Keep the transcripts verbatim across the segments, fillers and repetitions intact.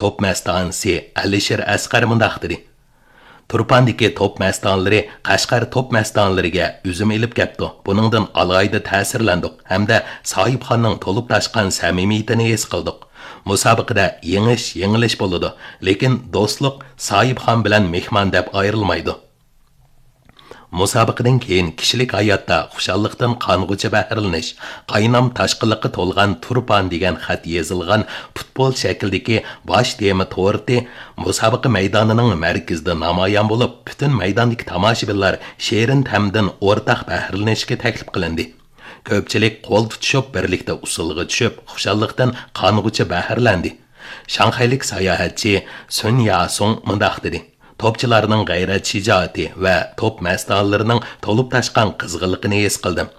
توپ مەستانىسى ئەلىشىر ئەسقەر مۇنداق دېدى: تۇرپاندىكى توپ مەستانىلىرى قەشقەر توپ مەستانىلىرىگە ئۈزۈم ئېلىپ كەپتۇ. بۇنىڭدىن ئالاھىدە تەسىرلەندۇق ھەمدە ساھىبخاننىڭ تولۇپ تاشقان سەمىمىيىتىنى ھېس قىلدۇق. مۇسابىقىدە يېڭىش، يېڭىلىش بولىدۇ، لېكىن دوستلۇق ساھىبخان بىلەن مېھمان دەپ ئايرىلمايدۇ. مۇسابىقىدىن كېيىن كىشىلىك ھاياتتا خۇشاللىقتىن قانغۇچە بەھرىلىنىش، قاينام تاشقىنلىققا تولغان تۇرپان دېگەن خەت يېزىلغان پۇتبول شەكلىدىكى باش تېما تورتى مۇسابىقە مەيدانىنىڭ مەركىزىدە نامايان بولۇپ، پۈتۈن مەيداندىكى تاماشىبىنلار شېرىن تەمدىن ئورتاق بەھرىلىنىشكە تەكلىپ قىلىندى. كۆپچىلىك قول تۇتۇشۇپ، بىرلىكتە ئۇسسۇلغا چۈشۈپ، خۇشاللىقتىن قانغۇچە بەھرىلەندى. شاڭخەيلىك ساياھەتچى سۈن ياسۇڭ مۇنداق دېدى: توپچىلارنىڭ غەيرەت شىجائىتى ۋە توپ مەستانىلىرىنىڭ تولۇپ تاشقان قىزغىنلىقىنى ھېس قىلدىم.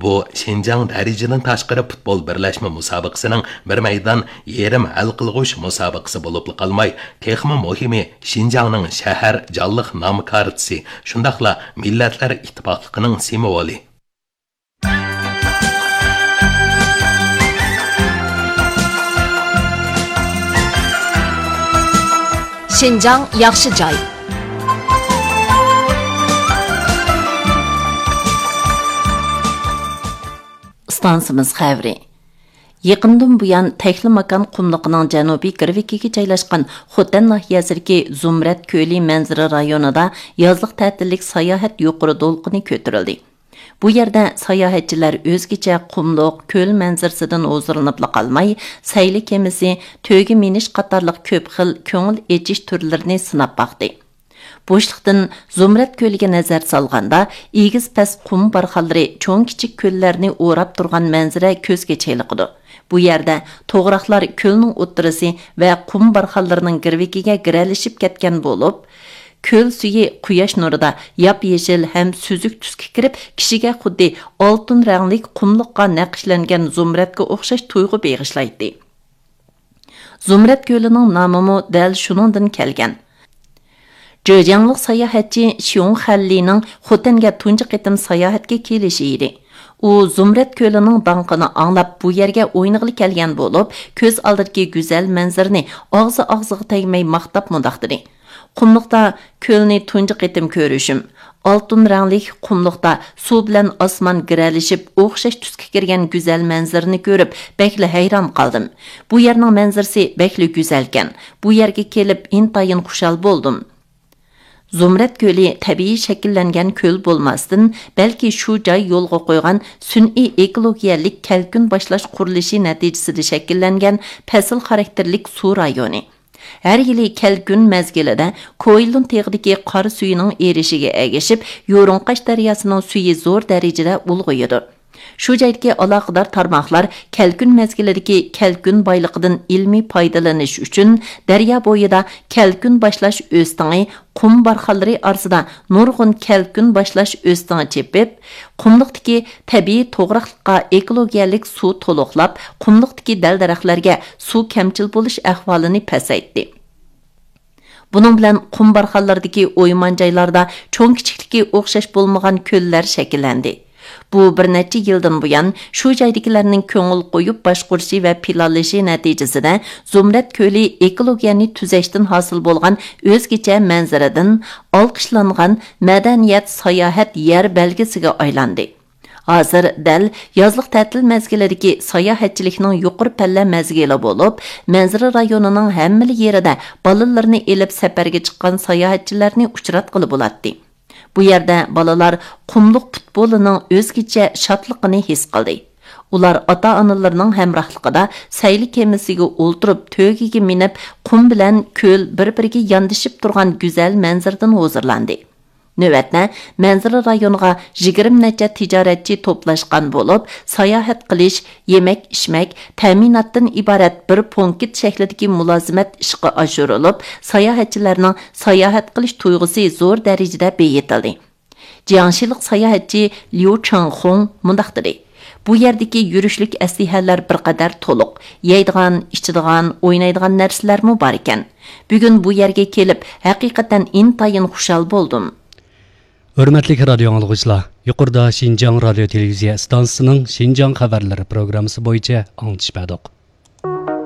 بۇ شىنجاڭ دەرىجىدىن تاشقىرى پۇتبول بىرلەشمە مۇسابىقىسىنىڭ بىر مەيدان يېرىم ھەل قىلغۇچ مۇسابىقىسى بولۇپلا قالماي، تېخىمۇ مۇھىمى، شىنجاڭنىڭ شەھەر جانلىق نام كارتىسى، شۇنداقلا مىللەتلەر ئىتتىپاقلىقىنىڭ سىمۋولى. شىنجاڭ ياخشى جاي. ئىستانسىمىز خەۋىرى. يېقىندىن بۇيان، تەكلىماكان قۇملۇقىنىڭ جەنۇبىي گىرۋىكىگە جايلاشقان خوتەن ناھىيەسىدىكى زۇمرەت كۆلى مەنزىرە رايونىدا يازلىق تەتىللىك ساياھەت يۇقىرى دولقۇنى كۆتۈرۈلدى. بۇ يەردە ساياھەتچىلەر ئۆزگىچە قۇملۇق، كۆل مەنزىرىسىدىن ھۇزۇرلىنىپلا قالماي، سەيلە كېمىسى، تۆگە مىنىش قاتارلىق كۆپ خىل كۆڭۈل ئېچىش تۈرلىرىنى سىناپ باقتى. بوشلۇقتىن زۇمرەت كۆلىگە نەزەر سالغاندا، ئېگىز پەس قۇم بارخانلىرى چوڭ كىچىك كۆللەرنى ئوراپ تۇرغان مەنزىرە كۆزگە چېلىقىدۇ. بۇ يەردە توغراقلار كۆلنىڭ ئوتتۇرىسى ۋە قۇم بارخانلىرىنىڭ گىرۋىكىگە گىرەلىشىپ كەتكەن بولۇپ، كۆل سۈيى قۇياش نۇرىدا ياپيېشىل ھەم سۈزۈك تۈسكە كىرىپ، كىشىگە خۇددى ئالتۇن رەڭلىك قۇملۇققا نەقىشلەنگەن زۇمرەتكە ئوخشاش تۇيغۇ بېغىشلايتتى. زۇمرەت كۆلىنىڭ نامىمۇ دەل شۇنىڭدىن كەلگەن. جېجياڭلىق ساياھەتچى شيۇڭ خەنلىنىڭ خوتەنگە تۇنجى قېتىم ساياھەتكە كېلىشى ئىدى. ئۇ زۇمرەت كۆلىنىڭ داڭقىنى ئاڭلاپ، بۇ يەرگە ئوينىغىلى كەلگەن بولۇپ، كۆز ئالدىدىكى گۈزەل مەنزىرىنى ئاغزى ئاغزىغا تەگمەي ماختاپ مۇنداق دېدى: قۇملۇقتا كۆلنى تۇنجى قېتىم كۆرۈشۈم. ئالتۇن رەڭلىك قۇملۇقتا سۇ بىلەن ئاسمان گىرەلىشىپ، ئوخشاش تۈسكە كىرگەن گۈزەل مەنزىرىنى كۆرۈپ، بەكلا ھەيران قالدىم. بۇ يەرنىڭ مەنزىرىسى بەكلا گۈزەلكەن. بۇ يەرگە كېلىپ، ئىنتايىن خۇشال بولدۇم. زۇمرەت كۆلى تەبىئىي شەكىللەنگەن كۆل بولماستىن، بەلكى شۇ جاي يولغا قويغان سۈنئىي ئېكولوگىيەلىك كەلكۈن باشلاش قۇرۇلۇشى نەتىجىسىدە شەكىللەنگەن پەسىل خاراكتېرلىك سۇ رايونى. ھەر يىلى كەلكۈن مەزگىلىدە كوئىلۇن تېغىدىكى قار سۈيىنىڭ ئېرىشىشىگە ئەگىشىپ، يۇرۇڭقاش دەرياسىنىڭ سۈيى زور دەرىجىدە ئۇلغىيىدۇ. شۇ جايدىكى ئالاقىدار تارماقلار كەلكۈن مەزگىلىدىكى كەلكۈن بايلىقىدىن ئىلمىي پايدىلىنىش ئۈچۈن دەريا بويىدا كەلكۈن باشلاش ئۆستىڭى، قۇم بارخانلىرى ئارىسىدا نۇرغۇن كەلكۈن باشلاش ئۆستىڭى چېپىپ، قۇملۇقتىكى تەبىئىي توغراقلىققا ئېكولوگىيەلىك سۇ تولۇقلاپ، قۇملۇقتىكى دەل-دەرەخلەرگە سۇ كەمچىل بولۇش ئەھۋالىنى پەسەيتتى. بۇنىڭ بىلەن قۇم بارخانلىرىدىكى ئويمان جايلاردا چوڭ-كىچىكلىكى ئوخشاش بولمىغان كۆللەر شەكىللەندى. بۇ بىر نەچچە يىلدىن بۇيان شۇ جايدىكىلەرنىڭ كۆڭۈل قويۇپ باشقۇرۇشى ۋە پىلانلىشى نەتىجىسىدە، زۇمرەت كۆلى ئېكولوگىيەنى تۈزەشتىن ھاسىل بولغان ئۆزگىچە مەنزىرىدىن ئالقىشلانغان مەدەنىيەت ساياھەت يەر بەلگىسىگە ئايلاندى. ھازىر دەل يازلىق تەتىل مەزگىلىدىكى ساياھەتچىلىكنىڭ يۇقىرى پەللە مەزگىلى بولۇپ، مەنزىرە رايونىنىڭ ھەممىلا يېرىدە بالىلىرىنى ئېلىپ سەپەرگە چىققان ساياھەتچىلەرنى ئۇچراتقىلى بولاتتى. بۇ يەردە بالىلار قۇملۇق پۇتبولىنىڭ ئۆزگىچە شادلىقىنى ھېس قىلدى. ئۇلار ئاتا-ئانىلىرىنىڭ ھەمراھلىقىدا سەيلە كېمىسىگە ئولتۇرۇپ، تۆگىگە مىنىپ، قۇم بىلەن كۆل بىر-بىرىگە ياندىشىپ تۇرغان گۈزەل مەنزىرىدىن ھۇزۇرلاندى. نۆۋەتتە مەنزىرە رايونىغا يىگىرمە نەچچە تىجارەتچى توپلاشقان بولۇپ، ساياھەت قىلىش، يېمەك-ئىچمەك، تەمىناتتىن ئىبارەت بىر پونكىت شەكلىدىكى مۇلازىمەت ئىشقا ئاشۇرۇلۇپ، ساياھەتچىلەرنىڭ ساياھەت قىلىش تۇيغۇسى زور دەرىجىدە بېيىتىلدى. جياڭشىلىق ساياھەتچى ليۇ چېڭخۇڭ مۇنداق دېدى: بۇ يەردىكى يۈرۈشلۈك ئەسلىھەلەر بىر قەدەر تولۇق، يەيدىغان، ئىچىدىغان، ئوينايدىغان نەرسىلەرمۇ باركەن. بۈگۈن بۇ يەرگە كېلىپ، ھەقىقەتەن ئىنتايىن خۇشال بولدۇم. ھۆرمەتلىك رادىيو ئاڭلىغۇچىلار، يۇقىرىدا شىنجاڭ رادىيو تېلېۋىزىيە ئىستانسىسىنىڭ شىنجاڭ خەۋەرلىرى پروگراممىسى بويىچە ئاڭلىتىش بەردۇق.